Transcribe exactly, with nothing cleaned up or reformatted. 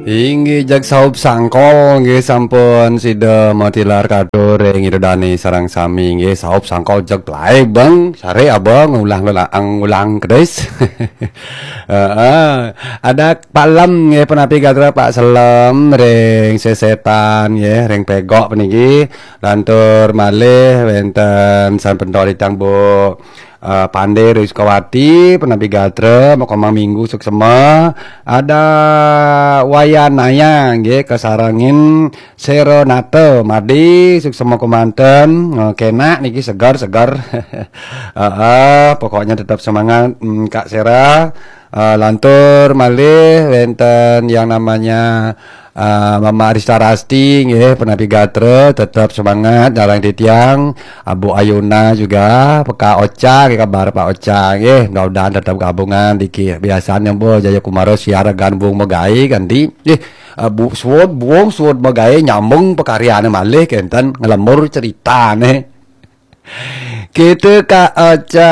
Inggih, jeg saup sangkol nggih sampun sida matilar katur ring Ida Dane sareng sami nggih. Saup sangkol jeg plae, Bang. Sare Abang ngulang laang ulang kedis. Heeh. Ada Pak Lem nggih, penapi gatra Pak Selem ring Sesetan nggih, ring Pegok puniki. Lantur malih wenten San Pentol Itang Bu eh, Pande ring Sukawati, penapi gatra, makomang minggu suksema. Ada Wayanaya nggih, kasarengin Seronata Madi, suksema kemanten. Eh, kenak niki segar-segar. Heeh, pokoknya tetap semangat, mm, Kak Sera. Eh, lantur malih wenten yang namanya eh, Mama Arista Rasti nggih, penapi gatra, tetap semangat dalam titiang. Abu Ayuna juga, Peka Ocha, nggih, kabar Pak Ocha nggih, mudah-mudahan tetap gabungan diki. Biasanya Bu Jaya Kumara siar gan Bung Megai kan di. Eh, eh, Bu Suwud, Bung Suwud Megai nyambung pekaryane malih kenten ngelembur ceritane. Kita Kak Ocha.